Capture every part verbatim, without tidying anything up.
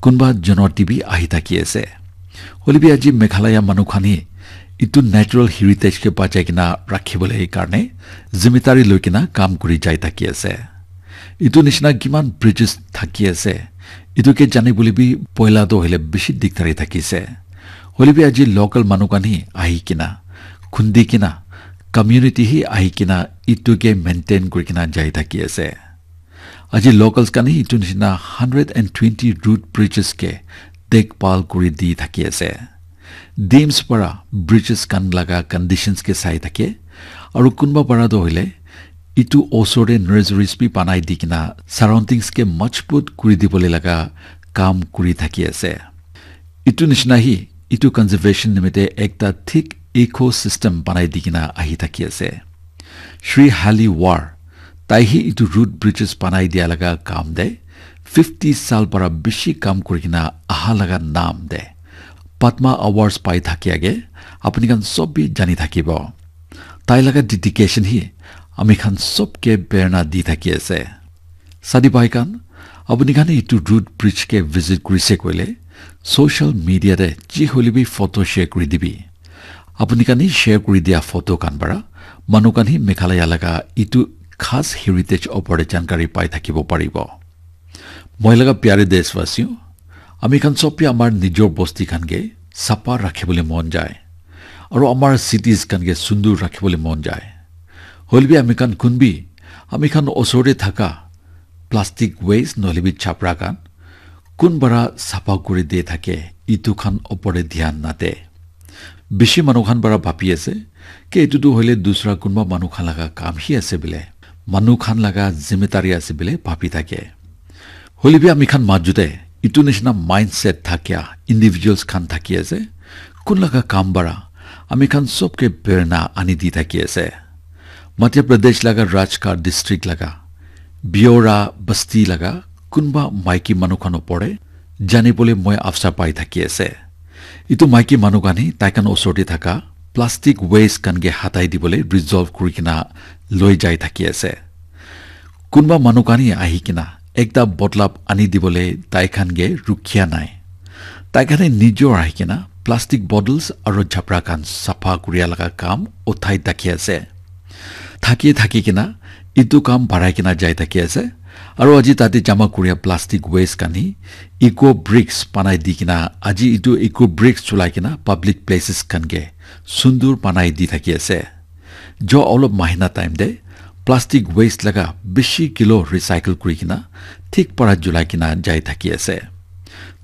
kunba jonoti bi ahi thaki ase. Hoilebi aji Meghalaya manu khan hi itu natural heritage ke bachai kena rakhibole karne zimmetari loi kena kam kuri jai thaki ase. Itu nishina kiman bridges thaki ase, itu ke jani bole bi poila toh hoile bishi dikdari thaki ase. Hoilebi aji local manu khan hi ahi kena, khundi kena, community hi ahi kena itu ke maintain kuri kena jai thaki ase. Aji locals khan hi itu nishina hundred and twenty root bridges ke dekbhal kuri di thaki ase. Dims para bridges khan laga conditions ke sai thake, aru kunba para toh hoile itu osor te nurseries bi banai di kena surroundings ke majbut kuri dibole laga kam kuri thaki ase. Itu nishina hi itu conservation nimite ekta thik ecosystem banai di kena ahi thaki ase. Shri Hali War, tai hi itu root bridges banai dia laga kam de fifty sal para bishi kam kuri kena aha laga nam de Padma Awards pai thaki age, apuni khan sob bi jani thakibo. Tai laga dedication hi ami khan sob ke prerna di thaki ase. Sadi bhai khan, apuni khan itu root bridge ke visit kurise koile, social media te ji hoile bi photo share kuri dibi. Apuni khan hi share kuri dia photo khan para manu khan hi Meghalaya laga itu khas heritage opor te jankari pai thakibo paribo. Moi laga pyare deshwasiyo, ami khan sob bi amar nijor bosti khan ke sapa rakhibole mon jai. Aru amar cities khan ke sundur rakhibole mon jai. Hoilebi ami khan kunbi, ami khan osor te thaka plastic waste nohole bi chapra khan kun para sapa kuri de thake, itu khan opor te dhyan nade. Bishi manu khan para bhabi ase, ke itu tu hoile dusra kunba manu khan laga kam hi ase bile, manu khan laga zimmetari ase bile bhabi thake. Hoilebi ami khan majute itu nishina mindset thakia individuals khan thaki ase, kun laga kam para ami khan sob ke prerna ani di thaki ase. Madhya Pradesh laga Rajgarh district laga Biora basti laga kunba maiki manu khan opor te jani bole moi afsar pai thaki ase. Itu maiki manu khan hi tai khan osor te thaka plastic waste khan ke hatai dibole resolve kuri kena loi jai thaki ase. Kunba manu khan hi ahi kena ekta botlap ani dibole tai khan ke rukhiya nai. Tai khan hi nijor ahi kena plastic bottles aru chapra khan sapha kuria laga kam uthai thaki ase. Thaki thaki kena itu kam barai kena jai thaki ase. Aru aji tate jama kuria plastic waste khan hi eco bricks banai di kena aji itu eco bricks chulai kena public places khan ke sundur banai di thaki ase. Jo olop mahina time te plastic waste laga bishi kilo recycle kuri kena thik para julai kena jai thaki ase.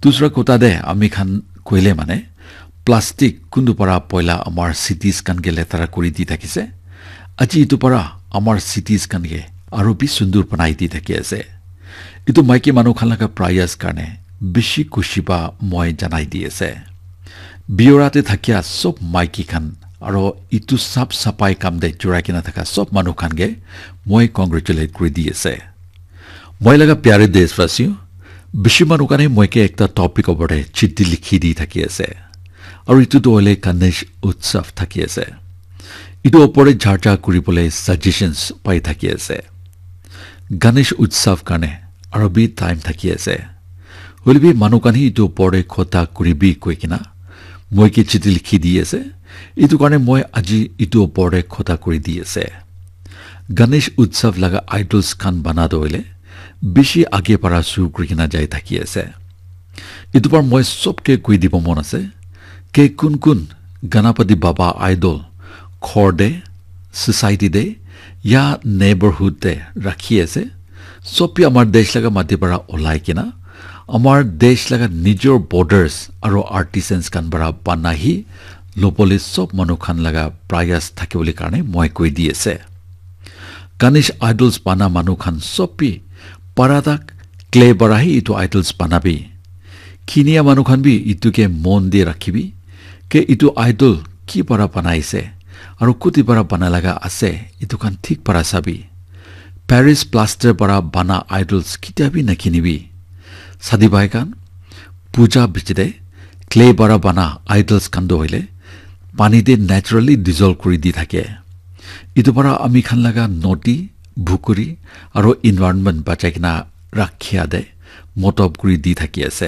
Dusra kotha te ami khan koile mane plastic kuntu para poila amar cities khan ke letara kuri di thakise. Aji itu para amar cities khan ke aru bi sundur banai di thaki ase. Itu maiki manu khan laga prayas karne bishi khushi pa moi janai di ase. Biora te thakia sob maiki khan aro itu sap sapai kam te jurai kena thaka sob manu khan ke moi congratulate kuri di ase. Moi laga pyare deshwasi, bishi manu khan he moi ke ekta topic opor te chithi likhi di thaki ase. Aru itu tu hoile Ganesh Utsav thaki ase. Itu opor te charcha kuri bole suggestions pai thaki ase. Ganesh Utsav karne aru bi time thaki ase. Hoile bi manu khan he itu opor te khota kuri bi koi kena moi ke chithi likhi di ase. Itu karne moi aji itu opor te khota kuri di ase. Ganesh Utsav laga idols khan bana tu hoile bishi age para shuru kuri kena jai thaki ase. Itu par moi sob ke koi dibo mon ase ke kun kun Ganapati Baba idol ghor te, society te ya neighborhood te rakhi ase. Sob bi amar desh laga mati para olai kena amar desh laga nijor borders aro artisans khan para bana hi lobole sob manu khan laga prayas thakibole karne moi koi di ase. Ganesh idols bana manu khan sob bi para tak clay para hi itu idols bana bi. Kinia manu khan bi itu ke mon di rakhibi ke itu idol ki para banai ase aru kuti para bana laga ase itu khan thik para sabi. Paris plaster para bana idols kitia bi nakinibi. Sadi bhai khan, puja bichite clay para bana idols khan do hoile pani te naturally dissolve kuri di thake. Itu para ami khan laga nodi, bukuri aro environment bachai kena rakhia de motob kuri di thaki ase.